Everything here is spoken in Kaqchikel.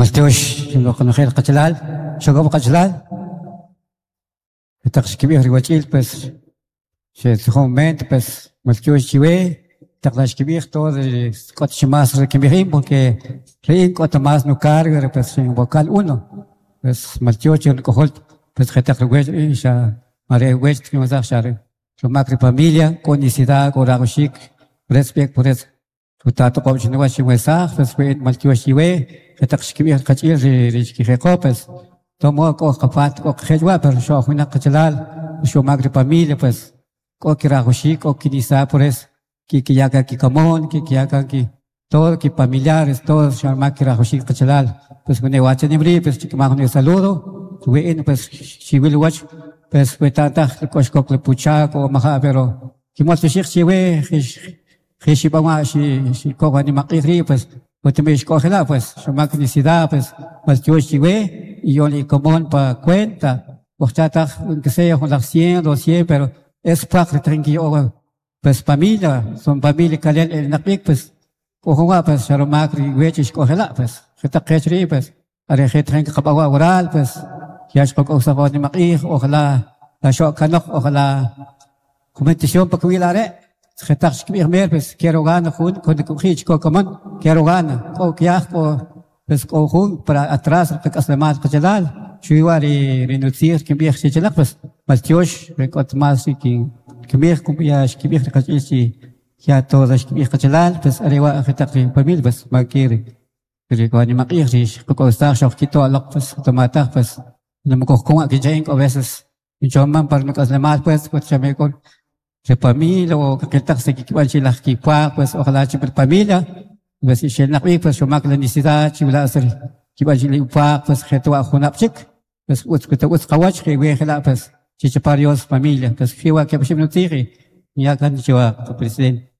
Maltyox konojel qachalal, xokob' qachalal. Taq xkib'ij ri wach'il pues xetzijon ment pues maltyox chiwe taq la xkib'ij todo ri k'ot chi más ri kinb'ij in porque ri in k'ot más nucargo pues in vocal uno pues maltyox che nuk'ojol pues jetaq ri wech in xa are wech kinwesaj xa rumak ri familia k'o necesidad k'o rajwaxik rech b'ek por eso Rutatoq'ob' chiniwach xinwesaj, pues we maltyox chiwe, jetaq xkib'ij ri qach'il ri xkijeqo, pues tomo k'o qapat k'o qajech wa', pero xo'j winaq qachalal, xumak ri familia, pues k'o kirajwaxik, k'o kinisa por eso kikiya kan kikamon, kikiya kan ki todo ki familiares, todo xamak kirajwaxik qachalal, pues wene wa chanim ri' pues chikmaj jun saludo, we in pues xiwil uwach, pues we taj k'o xkok le puchak o maja' pero kimoltyoxij chiwe jix xib'an wa' xikoj nimaq'ij ri' pues utime xk'ojila' pues xumak necesidad pues maltyox chiwe y yo'l ikomon pa cuenta ujcha taj aunque sea jun laj 100, 200 pero es pwaq ri tajin kiya'o pues familia son familia kalel elinaq b'ik pues k'o jun wa' pues xa rumak ri wech xk'ojila' pues jetaq qech ri' pues are je tajin qaqab'an wa' waral pues ya xqak'owsaj wa nimaq'ij ojalá la xo'k kanoq ojalá jumentición pa kiwil are' jetaq xkib'ij mer pues quiero gana jun kun chiko komon quiero gana k'o kyaj k'o pues k'o jun para atrás qak'aslemal qachalal xuwi wa' ri nutzij kinb'ij chichalaq pues maltyox ri k'ot más ri kinb'ij ya xkib'ij ri qach'il chi ya todo xkib'ij qachalal pues are wa' jetaq ri familia pues maki ri k'o nimaq'ij ri qak'owsaj xojkito' loq pues tomataj pues namukojkon wa' kincha'in k'o veces kinchoman para nuk'aslemal pues k'ot ri familia o kakiltaj si kikb'an chi laj kipwaq pues ojalá chi familia pues ixelnaq b'ik pues xumak la necesidad chiwila' hacer kib'an chi pwaq pues jewa' junab' chik pues utz utz qawach jiwe jela' pues chichapa Dios familia pues jiwa keb' oxib' nutzij y ya kan chiwa presidente.